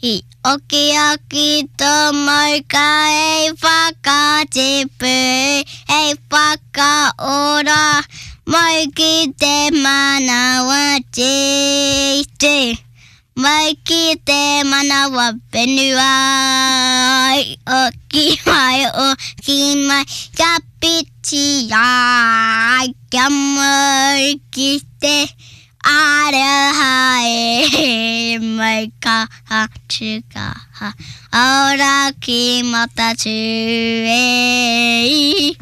I okioki tō mauka hei whakatipu, hei whakaora Mau ki te manawa tītī, mau ki te manawa whenua Oki mai, oki mai, kia whitia, kia mau ki te Aroha e mai kaha tu kaha ora ki Matatū e.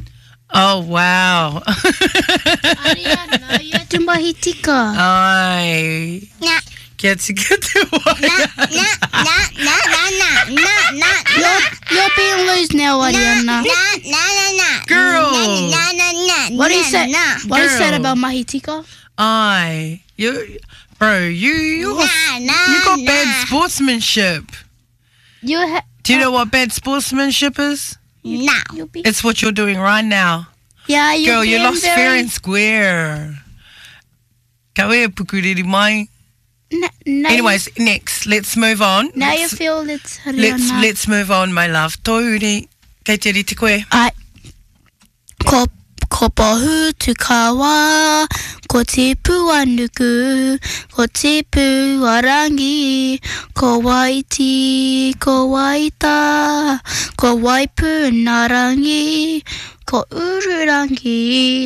Oh wow. Ariana, you had to mahi tika. Ai. Na. Kia tika te waiata. Na, na, na, na, na, na, na, na. You're being loose now, Ariana. Na, na, na, na. Girl. Na, na, na, na, What is na, that? na. What is that Girl. about mahi tika? Ai. You, bro, you, you got, Nah, nah, you got nah. bad sportsmanship. You ha- Do you know what bad sportsmanship is? No. you'll be It's what you're doing right now. Yeah, you're Girl, you being lost very, fair and square. Ka wea pukuriri mai. Na, now Anyways, next, let's move on. you, now you let's, feel it's Ariana. let's, let's move on, my love. Tōuri, kei te rite koe. Ai. Ko, ko pohu tu kawa, ko tipu a nuku, ko tipu a rangi, ko waiti, ko waita, ko waipu nā rangi, ko ururangi.